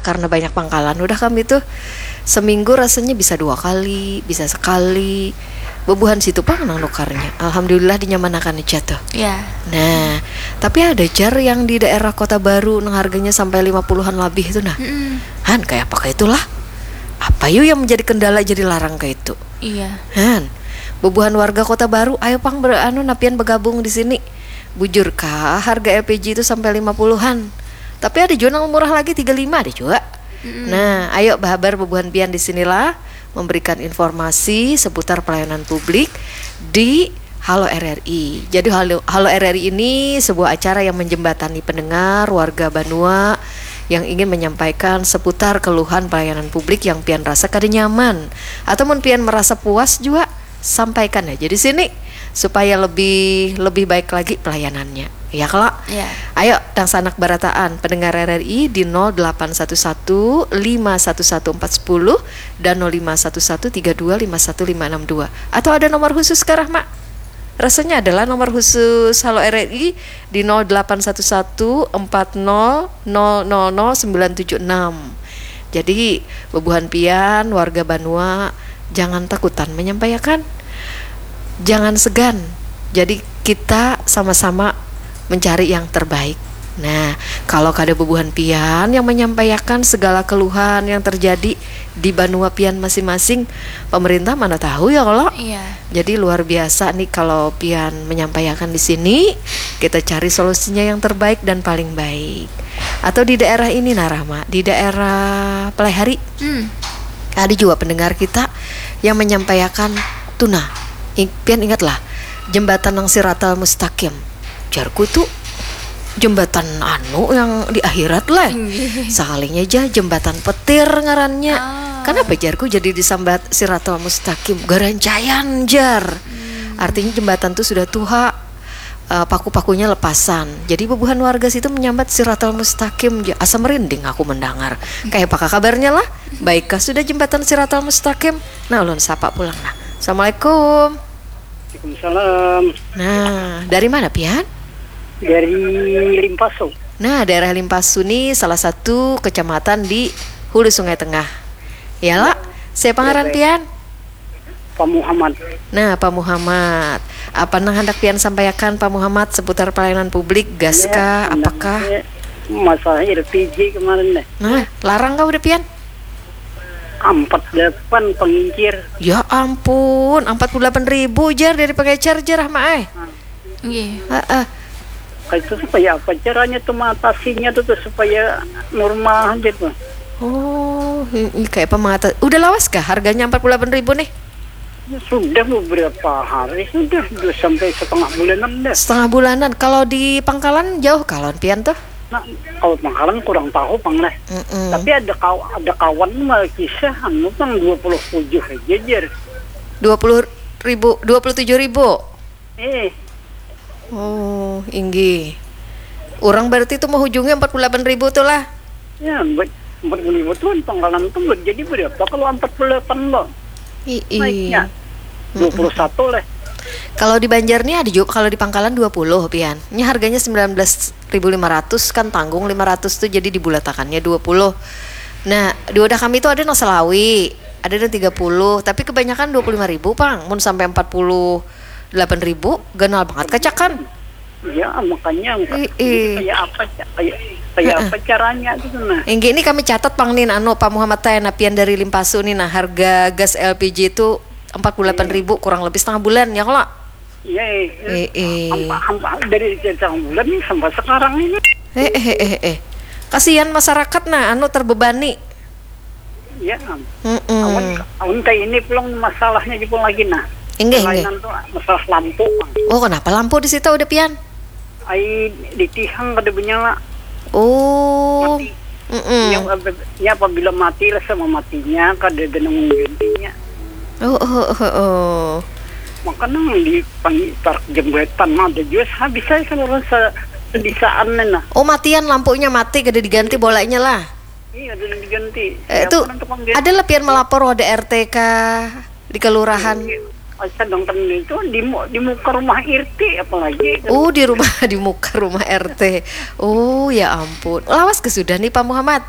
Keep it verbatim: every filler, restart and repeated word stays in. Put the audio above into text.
Karena banyak pangkalan udah kami tuh, seminggu rasanya bisa dua kali, bisa sekali. Bebuhan situ pang nang nukarnya. Alhamdulillah dinyamanakan aja tuh. Ya. Nah, tapi ada jar yang di daerah Kota Baru nang harganya sampai lima puluhan labih tuh nah. Mm-mm. Han, kayak apa kayak itulah? Apa yuk yang menjadi kendala jadi larang kayak itu? Iya. Han, bebuhan warga Kota Baru, ayo pang ber, anu napian bergabung di sini. Bujur kah harga L P G itu sampai lima puluhan? Tapi ada juga yang murah lagi tiga lima ada juga. Mm-mm. Nah, ayo bahabar bebuhan pian di sinilah memberikan informasi seputar pelayanan publik di Halo R R I. Jadi Halo, Halo R R I ini sebuah acara yang menjembatani pendengar, warga banua yang ingin menyampaikan seputar keluhan pelayanan publik yang pian rasa kada nyaman atau mun pian merasa puas juga sampaikan aja di sini supaya lebih lebih baik lagi pelayanannya. Ya kalau Ya. Ayo, dangsanak barataan pendengar R R I di nol delapan satu satu lima satu satu empat sepuluh dan nol lima satu satu tiga dua lima satu lima enam dua. Atau ada nomor khusus kah, Rahma? Rasanya adalah nomor khusus Halo R R I di nol delapan satu satu empat nol nol nol nol sembilan tujuh enam. Jadi, bebuhan pian warga banua jangan takutan menyampaikan. Jangan segan. Jadi, kita sama-sama mencari yang terbaik. Nah, kalau kada bebuhan pian yang menyampaikan segala keluhan yang terjadi di banua pian masing-masing, pemerintah mana tahu ya kalau. Iya. Jadi luar biasa nih kalau pian menyampaikan di sini, kita cari solusinya yang terbaik dan paling baik. Atau di daerah ini nah Rahma, di daerah Palehari. Hmm. Ada juga pendengar kita yang menyampaikan tuh nah, ing- pian ingatlah jembatan nang Siratal Mustaqim. Jarku tuh jembatan anu yang di akhirat lah. Inggih. Sakalinya aja jembatan petir ngarannya. Ah. Kenapa jarku jadi disambat Siratal Mustaqim? Garancaian jar. Artinya jembatan tuh sudah tuha, eh, paku-pakunya lepasan. Jadi bebuhan warga situ menyambat Siratal Mustaqim ja. Asa merinding aku mendengar. Kayak apa kabarnya lah? Baikkah sudah jembatan Siratal Mustaqim? Nah, ulun sapa pulang nah. Assalamualaikum. Waalaikumsalam. Nah, dari mana pian? Dari Limpaso. Nah, daerah Limpaso nih salah satu kecamatan di Hulu Sungai Tengah. Ya lah, siapa ngaran pian? Pak Muhammad. Nah, Pak Muhammad, apa nang hendak pian sampaikan Pak Muhammad seputar pelayanan publik, gas kah, apakah? Masalah L P G kemarin deh. Nah, larang kah udah pian? Empat delapan pengincir. Ya ampun, empat puluh delapan ribu jar dari pengecer jar Rahma eh. Nggih. Heeh. Itu supaya apa caranya tuh mengatasinya tuh, tuh supaya normal aja tuh. Oh, ini kayak apa mengata-, udah lawas kah harganya empat puluh delapan ribu nih? Ya, sudah beberapa hari sudah, sudah sampai setengah bulanan dah. Setengah bulanan. Kalau di pangkalan jauh kah lawan pian tuh? Nah, kalau pangkalan kurang tahu pang lah. Mm-mm. Tapi ada kaw ada kawan mah kisah anu pang dua puluh tujuh aja jar. Dua puluh ribu, dua puluh tujuh ribu. Eh, Oh, inggih. Orang berarti itu mau ujungnya empat puluh delapan ribu tuh lah. Ya, empat empat puluh ribu tuh pangkalan tuh buat jadi berapa kalau empat puluh delapan lo? Ii. Naiknya dua puluh satu lah. Kalau di Banjar nih ada juga, kalau di pangkalan dua puluh pian. Ini harganya sembilan belas ribu lima ratus kan, tanggung lima ratus tuh jadi dibulatakannya dua puluh. Nah, di wadah kami tuh ada nang selawi, ada nang tiga puluh, tapi kebanyakan dua puluh lima ribu pang. Mun sampai empat puluh delapan ribu, ganal banget kacakan. Ya, makanya Ii. kayak apa ca- kayak kayak apa caranya gitu nah. Inggih, ini kami catat pang nih, anu, Pak Muhammad teh, nah, pian dari Limpaso nih, nah, harga gas L P G itu empat puluh delapan ribu kurang lebih setengah bulan ya kalau. Iya, eh. Eh, eh. Hampa, hampa, dari setengah bulan nih sampai sekarang ini. Eh, eh, eh, eh. Kasihan masyarakat nah, anu, terbebani. Ya, Mm-mm. awan awan kayak ini pulang masalahnya juga lagi nah. Inggih, inggih. Kelainan tuh masalah lampu. Oh, kenapa lampu di situ udah pian? Ai ditihang kada menyala. Oh. Mati. Mm-mm. Nya, nya apabila mati lah sama matinya kada ada nang menggantinya. Oh, oh, oh, oh. Maka nang di pang- parak jembatan mah ada juga habis saya kalau rasa sedisaan nih nah. Oh, matian lampunya mati kada diganti bolanya lah. Iya, ada yang diganti. Eh, Siapa itu nang tukang ganti? Ada lah pian melapor wadah R T kah di kelurahan? Sedangkan itu di mu- di muka rumah R T apalagi. Oh, di rumah, di muka rumah R T. Oh, ya ampun. Lawas ke sudah nih Pak Muhammad?